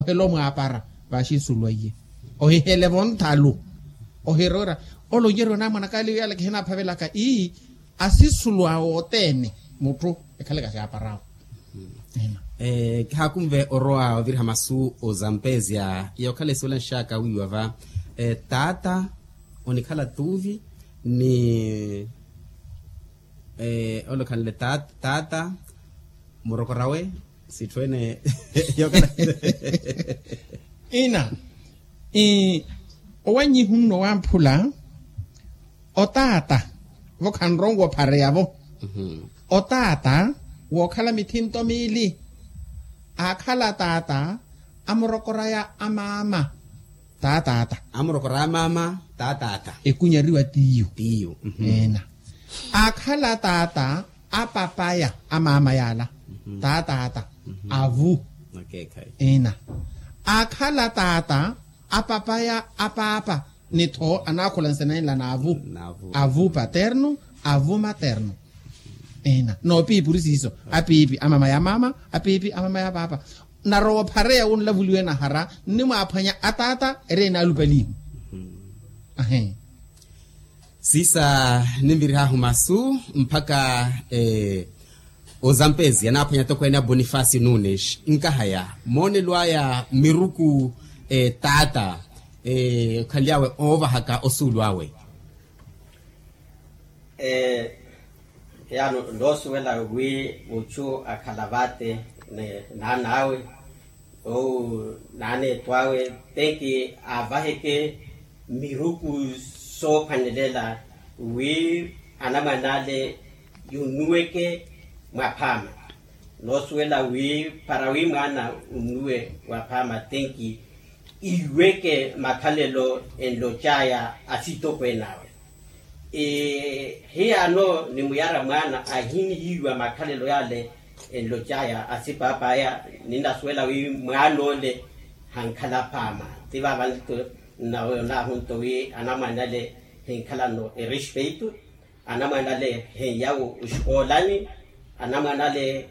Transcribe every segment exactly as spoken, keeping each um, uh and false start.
Ohela omwaapara vaaxi nsulwaiye. Ohihelevo nthalu. Ohiroora. Ole onjeriwa naamwanaka aliyo yala kihinaphavelaka ii. Asisulu awe othene mutthu ekhalaka xaaparawo. Kihaakunve orowa oviriha masu ozampezia yookhala esuwelanxaka wiiwa va. Taata onikhala tuuvi ni ole okhanle taata murokorawe. Sitthu ene yookhala ina. Owannyihu nno wamphula otaata vo khanronwa ophareya vo. Otaata wookhala mithinto miili. Aakhala taata amurokoraya amaama. Taataata amurokoraya amaama. Taataata ekunyariwa tiiyo. Tiiyo. Ena. Aakhala taata apapaya amaama yaala. Taataata avu. Ina. Aakhala taata apapaya apaapa. Ni tho anaakhula nsenenla naavu. Avu paterno. Avu materno. Ina noopiipuri siiso. Apiipi amama ya mama. Apiipi amama ya paapa. Narowa ophareya wunlavuliwe nahara nnimwaaphwanya ataata eri enaalupalihu. Ahe. Siisa ninvirihaahu masu mpakha ozampezi anaaphwanya tokweene a bonifasi nunes nkahaya moonelo aya miruku taata okhanly'awe oovahaka osuulu awe. Yaano noosuwela wi muchu akhala vaate ni naan'awe ou naan'etthu awe tenki aavaheke miruku soophwanelela wi anamwan'ale yunuweke mwaphaama. Noosuwela wi para wi mwaana unnuwe waphaama tenki iweke makhalelo enlocaya asitokweene awe. Hiyaano nimuyara mwaana ahinihiiwa makhalelo yale enlocaya asipaapaya. Ninasuwela wi mwaan'ole hankhala phaama ti vaava nto nnawe onaahu nto wi anamwane ale hinkhalano erespeito. Anamwane ale henyawo oxikoolani. Anamwane ale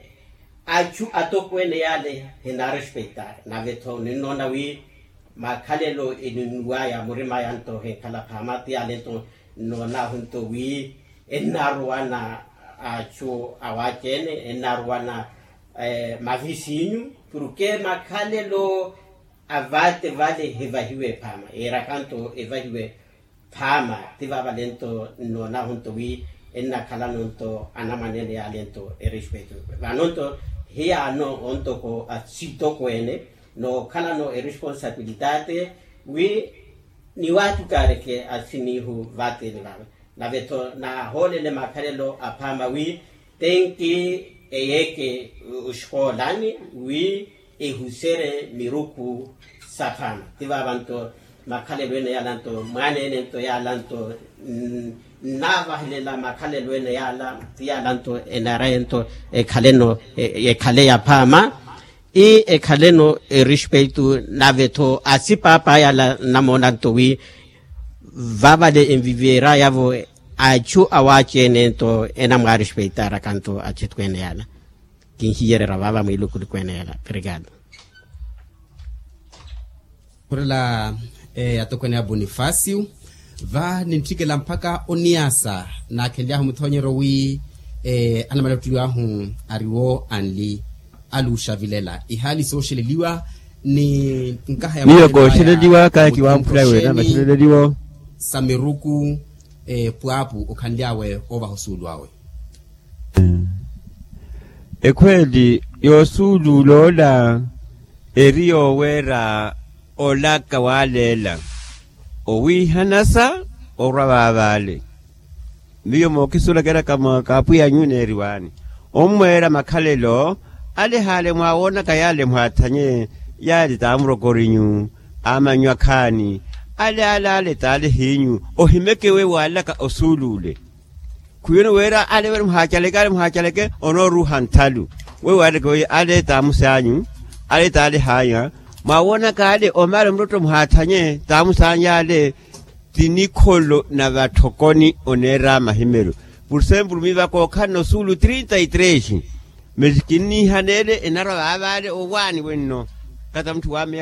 achu atokweene yale henaarespeita nave-tho ninnoona wi makhalelo eninnuwaya murimaya nto henkhala phaama ti yale nto nnoonaahu nto wi ennaaruwana achu awaci-ene ennaaruwana mavisinyu. Porke makhalelo avaate vale hevahiwe phaama yeeraka nto evahiwe phaama ti vaavale nto nnoonahu nto wi ennakhalano nto anamwane ene yaale nto erespeito. Vano nto hiyaano ontoko asitokweene nookhalano eresponsabilitate wi niwaatukaareke asiniihu vaatini vaava. Nave-tho naahoolele makhalelo aphaama wi tenki eyeeke oxikoolani wi ehuserye miruku saphaama. Ti vaava nto makhalelo ene yaala nto mwaana ene nto yaala nto nnaavahelela makhalelo ene yaala ti yaala nto enaraye nto ekhaleno ekhale yaphaama. Ii ekhaleno erespeito nave-tho asipaapa yaala nnamoona nto wi vaavale enviviera yavo achu awaci-ene nto enamwaarespeitaaraka nto atitweene yaala. Kinhiyererya vaava mwiilukuluku ene yaala. Obrigado. Khurela atokweene a bonifasio va nintthikela mpakha oniasa naakhenly'ahu muthoonyeryo wi anamalettulw'ahu ariwo anli aluuxavilela ihaali sooxeleliwa ni nkaha ya miyo kooxeleliwa kaaki wamphula wena maxeleleliwo sa miruku pwaapu okhanly'awe oovaha osuulu awe. Ekhweeli yoosuuluula ola eri yooweera olaka waaleela owiihanasa orwa vaavaale. Miyo mookisuula keeraka mwa kaapwiya anyu neeriwaani ommweera makhalelo ale haale mwaawoonaka yaale mwathanye yaale taamurokorinyu amanyu akhaani ale ale ale taale hiinyu ohimeke wewo aalaka osuuluule. Khwiwene weera ale wene muhaacaleke ale muhaacaleke onooruuha nthalu. Wewo ale kooye ale taamusaanyu ale taale haanya mwaawoonaka ale omaale muttottho muhaathanye taamusaanyu ale ti nikholo na vatthokoni oneera mahimelo. Pursempulu miivaka ookhalana osuulu trinta y tres mesi kinniihaneele enarwa vaavaale owaani wenno kata mutthu waameya.